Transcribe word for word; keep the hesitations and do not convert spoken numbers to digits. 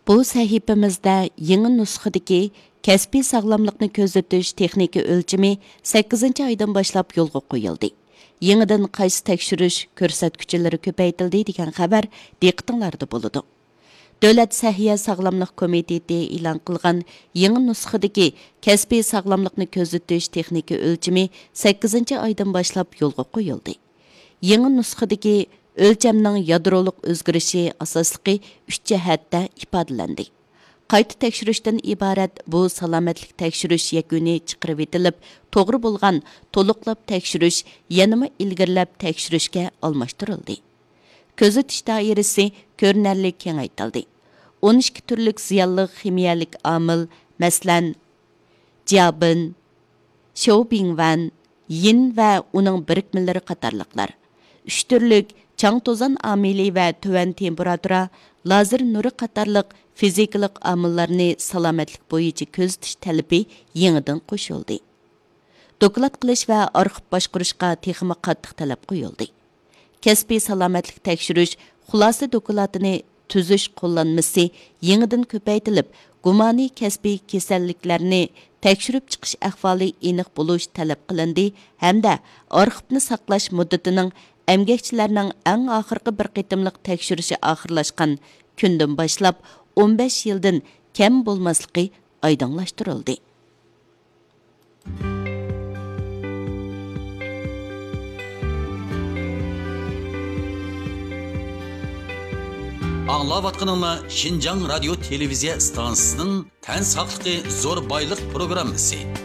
بۇ سەھىپىمىزدە يېڭى نۇسخىدىكى كەسپىي ساغلاملىقنى كۆزىتىش تېخنىكا ئۆلچىمى سەككىزىنچى ئايدىن باشلاپ يولغا قويۇلدى. يېڭىدىن قايسى تەكشۈرۈش كۆرسەتكۈچلىرى كۆپەيتىلدى دېگەن خەۋەر دىققىتىڭلاردا بولىدۇ. دۆلەت سەھىيە ساغلاملىق كومىتېتى ئېلان قىلغان يېڭى نۇسخىدىكى كەسپىي ساغلاملىقنى كۆزىتىش تېخنىكا ئۆلچىمى سەككىزىنچى ئايدىن باشلاپ يولغا قويۇلدى. يېڭى نۇسخىدىكى ئۆلچەمنىڭ يادرولۇق ئۆزگىرىشى ئاساسلىقى ئۈچ جەھەتتە ئىپادىلەندى. قايتا تەكشۈرۈشتىن ئىبارەت بۇ سالامەتلىك تەكشۈرۈش يەكۈنى چىقىرىۋېتىلىپ، توغرا بولغان تولۇقلاپ تەكشۈرۈش يەنىمۇ ئىلگىرىلەپ تەكشۈرۈشكە ئالماشتۇرۇلدى. كۆزىتىش دائىرىسى كۆرۈنەرلىك كېڭەيتىلدى. ئون ئىككى تۈرلۈك زىيانلىق خىمىيەلىك ئامىل، مەسىلەن، جيابىن، شياۋبىڭۋەن، يىن ۋە ئۇنىڭ بىرىكمىلىرى قاتارلىقلار، ئۈچ تۈرلۈك چاڭ توزان ئامىلى ۋە تۆۋەن تېمپېراتۇرا، لازېر نۇرى قاتارلىق فىزىكىلىق ئامىللارنى سالامەتلىك بويىچە كۆزىتىش تەلىپى يېڭىدىن قوشۇلدى. دوكلات قىلىش ۋە ئارخىپ باشقۇرۇشقا تېخىمۇ قاتتىق تەلەپ قويۇلدى. كەسپىي سالامەتلىك تەكشۈرۈش خۇلاسە دوكلاتىنى تۈزۈش قوللانمىسى يېڭىدىن كۆپەيتىلىپ، گۇمانىي كەسپىي كېسەللىكلەرنى تەكشۈرۈپ چىقىش ئەھۋالى ئېنىق بولۇش تەلەپ قىلىندى ھەمدە ئارخىپنى ساقلاش مۇددىتىنىڭ ئەمگەكچىلەرنىڭ ئەڭ ئاخىرقى بىر قېتىملىق تەكشۈرۈشى ئاخىرلاشقان كۈندىن باشلاپ ئون بەش يىلدىن كەم بولماسلىقى ئايدىڭلاشتۇرۇلدى. ئاڭلاۋاتقىنىڭلار شىنجاڭ رادىيو تېلېۋىزىيە ئىستانسىسىنىڭ تەن ساقلىقى زور بايلىق پروگراممىسى.